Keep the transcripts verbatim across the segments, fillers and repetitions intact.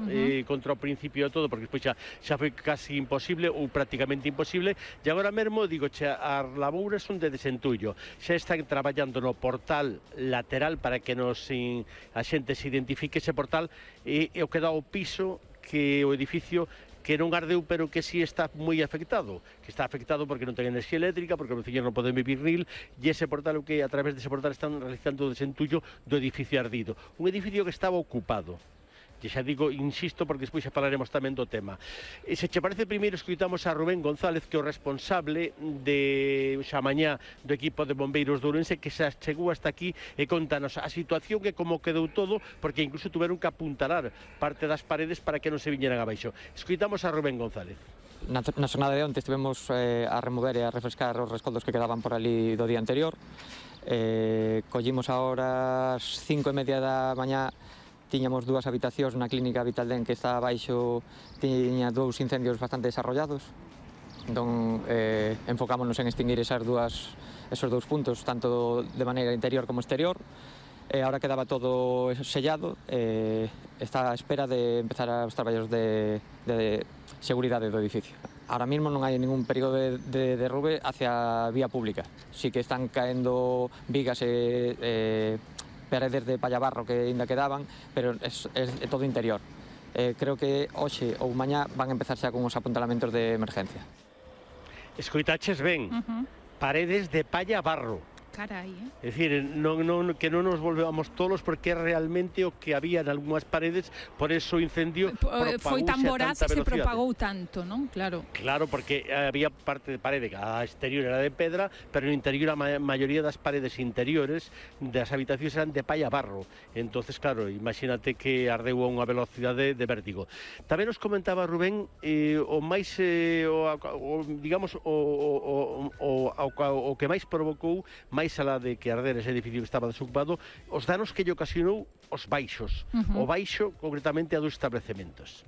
uh -huh. eh, contra o principio de todo, porque despois xa, xa foi casi imposible ou prácticamente imposible, e agora mesmo, digo, xa, as labouras son de desentullo, xa están traballando no portal lateral para que nos in, a xente se identifique ese portal, e, e o que dá o piso que o edificio que non ardeu, pero que sí está moi afectado, que está afectado porque non ten enerxía eléctrica, porque os veciños non poden vivir nil, e ese portal, o que a través dese portal están realizando o desentullo do edificio ardido. Un edificio que estaba ocupado. E xa digo, insisto, porque despois xa falaremos tamén do tema. E se che parece, primeiro escoitamos a Rubén González, que é o responsable de xa mañá do equipo de bombeiros de Ourense, que xa chegou hasta aquí e contanos a situación que como quedou todo, porque incluso tuveron que apuntalar parte das paredes para que non se viñeran abaixo. Escoitamos a Rubén González. Na, na xornada de onte estivemos eh, a remover e a refrescar os rescoldos que quedaban por ali do día anterior. Eh, collimos ahora as cinco e media da mañá. Tiñamos dúas habitacións na clínica Vitaldén que está abaixo, tiña dous incendios bastante desarrollados. Entón, eh, enfocámonos en extinguir esas dúas, esos dous puntos, tanto de maneira interior como exterior. E agora quedaba todo sellado, eh, está a espera de empezar os traballos de, de seguridade do edificio. Ahora mismo non hai ningún perigo de, de derrube hacia a vía pública. Sí que están caendo vigas e... Eh, paredes de pallabarro que ainda quedaban, pero é, é, é todo interior. Eh, creo que hoxe ou mañá van a empezar xa con os apuntalamentos de emergencia. Escoitaches ben, uh -huh. paredes de pallabarro. Carai, eh? É dicir, non, non, que non nos volvamos tolos, porque é realmente o que había en algunhas paredes, por eso o incendio propagouse foi tan voraz e se propagou tanto, non? Claro. Claro, porque había parte de parede que a exterior era de pedra, pero no interior a ma maioría das paredes interiores das habitacións eran de palla barro. Entonces, claro, imagínate que ardeu a unha velocidade de vértigo. Tamén nos comentaba Rubén, eh, o máis, eh, o, o, digamos, o, o, o, o, o que máis provocou, máis alá de que arder ese edificio que estaba desocupado, os danos que lle ocasionou os baixos, uh -huh. o baixo concretamente a dos establecementos.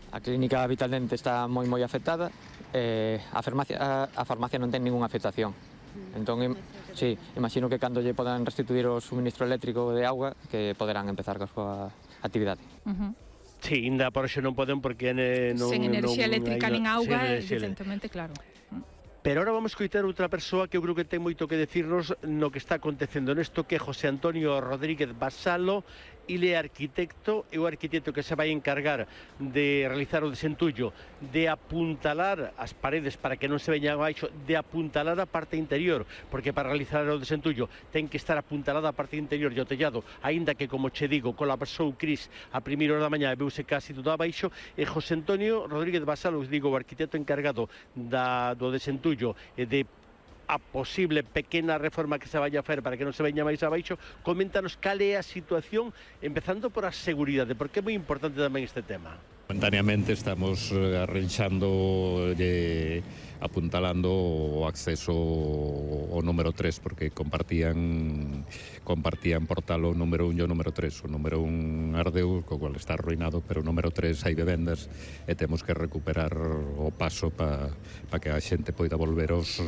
A clínica Vitaldente está moi moi afectada, eh, a, farmacia, a, a farmacia non ten ningunha afectación. Entón, im, sí, imagino que cando lle podan restituir o suministro eléctrico de auga, que poderán empezar coa súa actividade. Uh -huh. Sí, ainda por eso non poden, porque eh, non... Sen enerxía non, eléctrica non, nin auga, evidentemente, claro. Pero ahora vamos a escoitar outra persoa que eu creo que ten moito que decirnos no que está acontecendo nesto, que é José Antonio Rodríguez Basalo. Ele é arquitecto, é o arquitecto que se vai encargar de realizar o desentullo, de apuntalar as paredes para que non se veñan abaixo, de apuntalar a parte interior, porque para realizar o desentullo ten que estar apuntalada a parte interior e o tellado, aínda que, como che digo, colapsou Cris a primeira hora da mañá e veuse casi todo abaixo. E José Antonio Rodríguez Basalo, digo, o arquitecto encargado da, do desentullo e de a posible pequena reforma que se vaya a facer para que non se veña máis abaixo, coméntanos cal é a situación, empezando por a seguridade, porque é moi importante tamén este tema. Momentaneamente estamos arranxando e apuntalando o acceso ao número tres, porque compartían compartían portal o número un e o número tres. O número un ardeu, co cual está arruinado, pero o número tres hai vivendas e temos que recuperar o paso para pa que a xente poida volver aos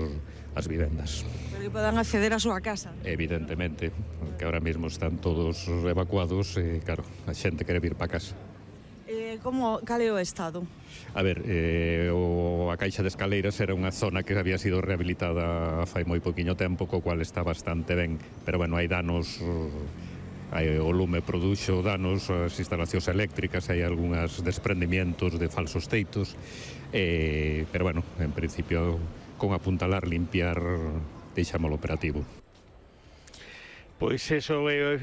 as vivendas. Pero que podan acceder á súa casa. Evidentemente, que ahora mesmo están todos evacuados e, claro, a xente quere vir para casa. Eh, como, cal é o estado? A ver, eh, o, a caixa de escaleiras era unha zona que había sido rehabilitada fai moi poquinho tempo, co cual está bastante ben, pero, bueno, hai danos, hai, o lume produxo danos, as instalacións eléctricas, hai algúns desprendimientos de falsos teitos, eh, pero, bueno, en principio, con apuntalar, limpiar, deixámolo operativo. Pois eso é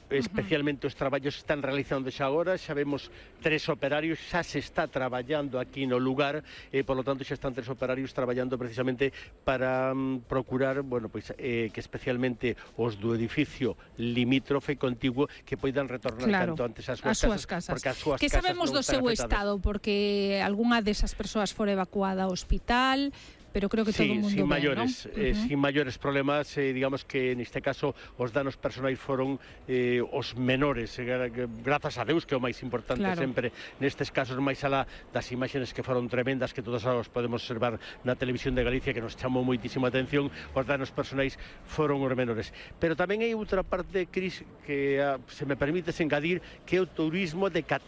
especialmente os traballos que están realizando xa agora, xa vemos tres operarios, xa se está traballando aquí no lugar, e por lo tanto xa están tres operarios traballando precisamente para um, procurar, bueno, pois eh, que especialmente os do edificio limítrofe contiguo que poidan retornar claro, canto antes ás súas, as súas casas, casas, porque as súas que casas sabemos non do seu afectadas. estado, porque algunha desas persoas fora evacuada ao hospital, pero creo que sí, todo o mundo sin ben, maiores, ¿no? eh, Uh-huh. sin maiores problemas, eh, digamos que neste caso os danos personais foron eh, os menores, eh, grazas a Deus, que é o máis importante claro. sempre nestes casos, máis alá das imaxes que foron tremendas, que todos os podemos observar na televisión de Galicia, que nos chamou moitísima atención, os danos personais foron os menores. Pero tamén hai outra parte, Cris, que ah, se me permites engadir, que é o turismo de catástrofes.